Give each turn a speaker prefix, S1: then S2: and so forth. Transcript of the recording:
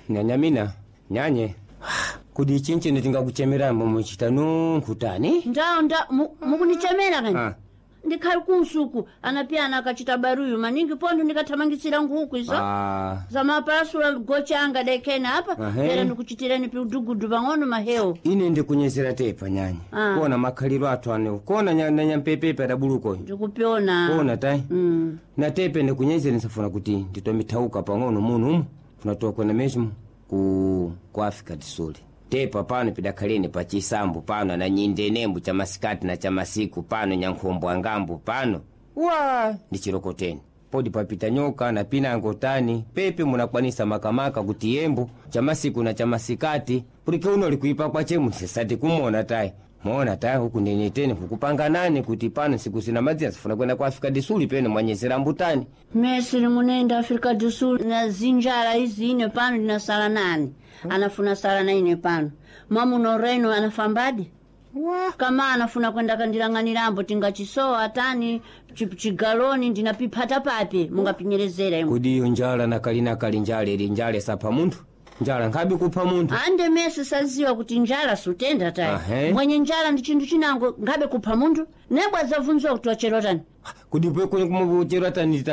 S1: Nyanyamina, nyanye, kudi chinchino tingakuchemerambo muchita nunkutani.
S2: Ndao nda mukunichemera kani?
S1: Ah.
S2: Ndikhali kunsuku anapiyana akachita baruyu maningi pondo ndikathamangitsira nkhuku izo
S1: Ah,
S2: zamapasula gochanga dekena apa.
S1: Ahe.
S2: Pera ndikuchitireni piudugudu pang'ono mahewu.
S1: Ine ndikunyezera tepa, nyanya.
S2: Ah.
S1: Kona makhaliro athu ane kona na nyampepepe adabulukoyo.
S2: Ndikupyona.
S1: Kona tai. Na tepe ndikunyezera, nsafuna kuti nditomithauka pang'ono muno umu, funa tokwena mesmo ku Africa Tisuli tepa pano pidakhaleni pa chisambu pano na nyindenembo cha masikati na cha masiku pano nyankhombo angambo pano wa ndi chirokoteni podi papita nyoka na pinango tani pepe munakwanisa makamaka kuti yembo cha masiku na cha masikati pulike uno likuipa kwachemu sisati kumona tayi mona tayi huku ndeneteni kukupanganani kuti pano siku sina madzina sifuna kwenda ku Africa Disuli pene mwanyezera mbutani.
S2: Mesiri munenda Africa do Sul na zinjala izi, ine pano ndinasala nani anafuna sala na ine pano mwamuno reno anafambadi kama anafuna kwenda kandilang'anirambo tingachisowa tani chigaloni ndinapiphata papi mungapinyerezera imwe.
S1: Kodi iyo njala nakalinakali njala ili njala isapha munthu, njala nkhabe kupha munthu.
S2: Ande mese saziwa kuti njala sutenda tayi.
S1: Ahe.
S2: Mwenye njala ndi chinthu chinango ngabe kupha munthu nebwa zavunziwa kuti wacherwa tani.
S1: Kodi pwe kumucherwa tani tani.